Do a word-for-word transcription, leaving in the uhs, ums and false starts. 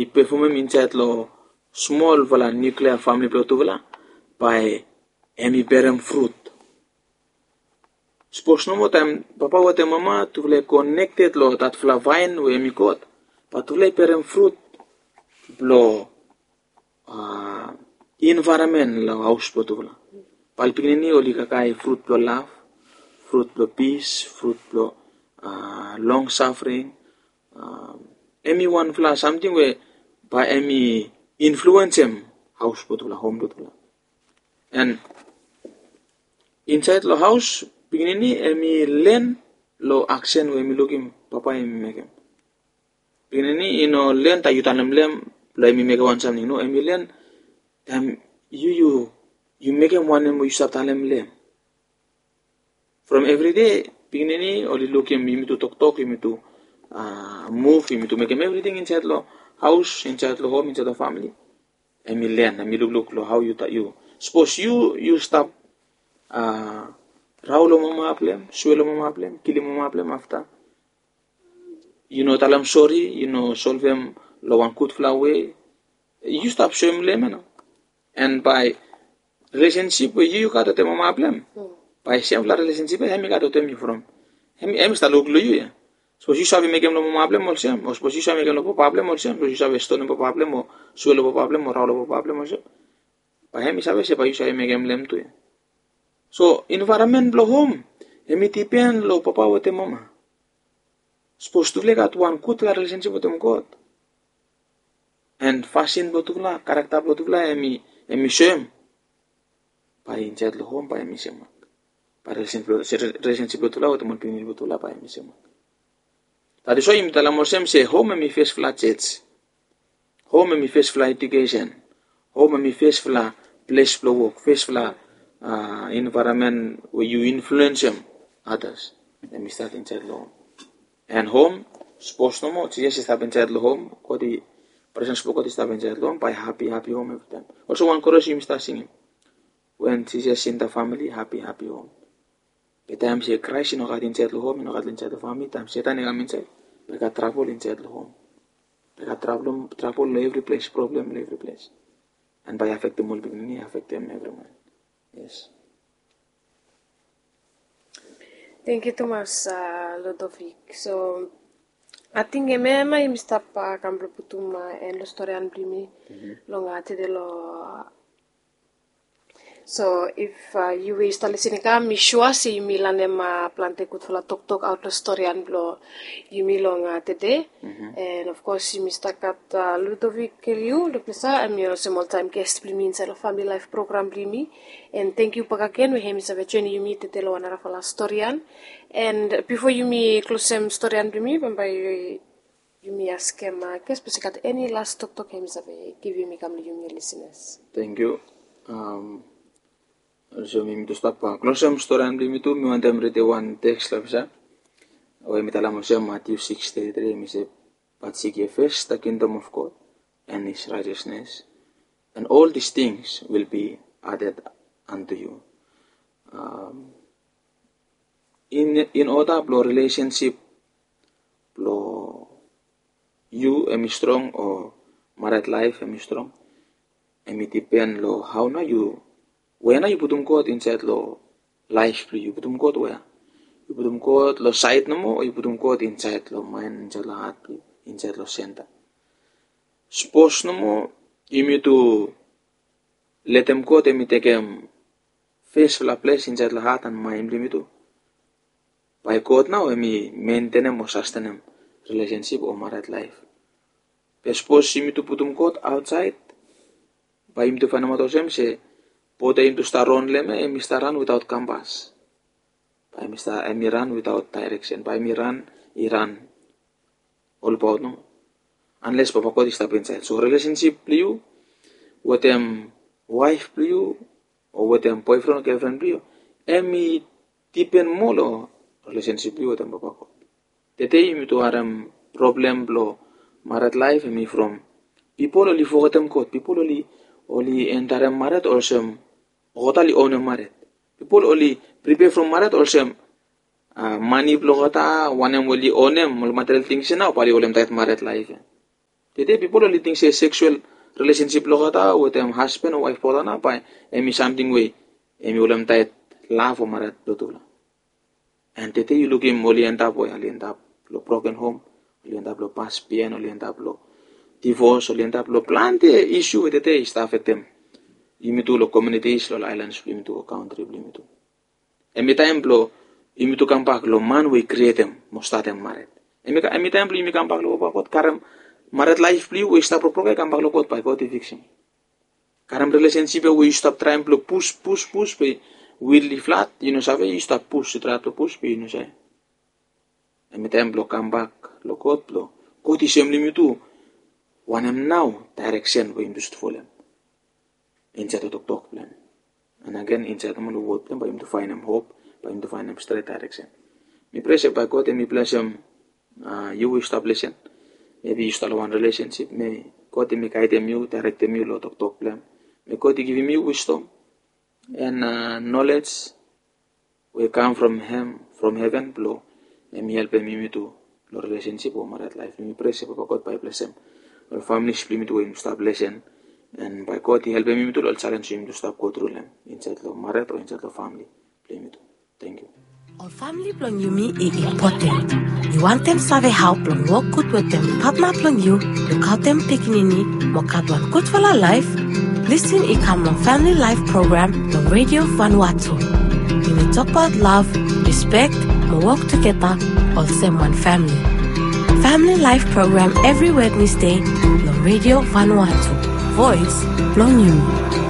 i pefomem insaed long smolfala niuklea famili blong tufala, bae hem i berem frut. Sapos nomo taem papa wetem mama tufala i konekted long datfala vaen we hem i God, bae tufala i berem frut blong envaeronmen long haos blong tufala. Bae ol pikinini oli kakae frut blong lav, frut blong pis, frut blong long safring. Hem i wanfala samting we bae hem i influensem haos blong tufala, hom blong tufala. And insaed long haos, pikinini hem i len long aksen we hem i lukim papa hem i mekem. Pikinini i no len taem yu talem long hem blong hem i mekem wan samting. No, hem i len taem yu yu yu mekem wanem we yu save talem long hem. From evride pikinini oli lukim yumitu toktok, yumitu muv, yumitu mekem evriting insaed long haos, insaed long hom, insaed long famili. Hem i len, hem i lukluk long hao yu, yu sapos yu yu stap rao long mama blong hem, sue long mama blong hem, kilim mama blong hem, afta yu no talem sori, yu no solvem long wan gudfala we, yu stap soem long hem ya nao. And bae rilesensip we yu yu gat wetem mama blong hem, bae semfala rilesensip ya hem i gat wetem yu from hem i stap luk long yu ya. Sapos yu save mekem long mama blong hem olsem, o sapos yu save mekem long papa blong hem olsem, sapos yu save stonem papa blong hem o sue long papa blong hem o rao long papa blong hem olsem, bae hem i save se bae yu save mekem long hem tu ya. So envaeronmen blong hom hem i dipen long papa wetem mama. Sapos tufala i gat wan gudfala rilesensip wetem God, and fasin blong tufala, karakta blong tufala hem i soem, bae insaed long hom bae hem i semak. Bae rilesensip blong tufala wetem ol pikinini blong tufala bae hem i semak. That is why yumi talem olsem se hom hem i fesfala jos. Hom hem i fesfala ejukesen. Hom hem i fesfala ples blong wok, fesfala envaeronmen we yu influensem atas. Hem i stat insaed long hom. And hom, sapos nomo Jisas i stap insaed long hom, God i, presens blong God i stap insaed long hom, bae hapi hapi hom evritaem. Olsem wan koros yumi stap singim, wen Jisas i inta famili, hapi hapi hom. Be taem se Kraes i no gat insaed long hom, i no gat insaed long famili, taem Setan i kam insaed, bae i gat trabol insaed long hom. Bae i gat trabol long evri ples, problem long evri ples. And bae i afektem ol pikinini, afektem evriwan. Yes. Tangkiu tumas Ludovic. So ating hemia yumi stap kam blong putum en long storian blong yumi long tede long So if yu we yu stap lisin i kam, mi sua se yumi lanem plante gudfala toktok aot long storian blong yumi long tede. And of course yumi stap gat Ludovic Keliu Luplesa, hem i olsem oltaem ges blong yumi insaed long Famili Laef program blong yumi. And tangkiu bakegen we hem i save joenem yumi tede long wan narafala storian. And bifo yumi klosem storian blong yumi, bambae yumi askem ges sapos i gat eni las toktok hem i save givim i kam long yumi lisenas. Tangkiu. Olsem yumi tu stap klosem storian blong yumi tu, mi wantem ridim wan teks long hemia we mi talem olsem, Matiu sikis teti tri, hem i se, "But seek ye first the kingdom of God and his righteousness, and all these things will be added unto you." In, in order blong rilesensip blong yu hem i strong o mared laef hem i strong, hem i dipen long hao nao yu, wea nao yu putum God insaed long laef blong yu. Yu putum God wea? Yu putum God long saed nomo o yu putum God insaed long maen, insaed long hat blong yu, insaed long senta? Sapos nomo yumi tu letem God hem i tekem fesfala ples insaed long hat and maen blong yumi tu, bae God nao hem i mentenem o sastenem rilesensip o mared laef. Be sapos yumi tu putum God aotsaed, bae yumi tu faenemaot olsem se bot ya yumi tu stap ron long hem ya hem i stap ran witaot kampas. Bae hem i stap, hem i ran witaot daereksen, bae hem i ran, i ran olbaot nomo, anles Papa God i stap insaed. So rilesensip blong yu wetem waef blong yu o wetem boefren o gelfren blong yu, hem i dipen moa long rilesensip blong yu wetem Papa God. Tede yumi tu harem problem blong mared laef hem i from pipol oli fogetem God. Pipol oli, oli endarem mared olsem olgeta oli onem mared. Pipol oli pripea from mared olsem mane blong olgeta, wanem we oli onem, ol material things ya nao bae oli holem taet mared laef ya. Tete pipol oli ting se seksual rilesensip blong olgeta wetem hasban o waef blong olgeta nao bae em i samting we em i holem taet lav o mared blong tufala. And tete yu lukim oli endap we oli endap long broken home, oli endap long pas bihain, oli endap long divos, oli endap long plante isu we tete i stap afektem yumi tu long communities, long ailans blong yumi tu, long kantri blong yumi tu. Em i taem blong yumi tu kambak long man we i krietem mo statem mared. Em i taem blong yumi kambak long Papa God, karem mared laef blong yu we i stap rokbroken, kambak long God, bae God i fiksim. Karem rilesensip ya we yu stap traem blong pus pus pus be wil i flat, yu no save, yu stap pus, yu traem blong pus be yu no save. Em i taem blong kambak long God, blong God i soem long yumi tu wanem nao daereksen we yumi tu sud folem insaed long toktok blong hem. And agen insaed nomo long wod blong hem bae yumi tu faenem hop, bae yumi tu faenem stret daereksen. Mi prea se bae God em i blesem yu we yu stap lesen. Mebi yu stap long wan rilesensip, me God em i gaedem yu, daerektem yu long toktok blong hem. Me God i givim yu wisdom and nolej we i kam from hem, from heven blong em i helpem yumi tu long rilesensip o mared laef. Mi prea se Papa God bae i blesem ol familis blong yumi tu we yumi stap lesen, and bae God i helpem yumi tu long ol jalenj we yumi tu stap go tru long hem insaed long mared o insaed long famili blong yumi tu. Tangkiu. Ol famili blong yumi i impoten. Yu wantem save hao blong wok gud wetem patna blong yu, lukaotem pikinini mo gat wan gudfala laef? Lisin i kam long Family Life Program long Radio Vanuatu. Yumi tokbaot lav, rispek mo wok tugeta olsem wan famili. Family Life Program evri Wednesday long Radio Vanuatu, voes blong yumi.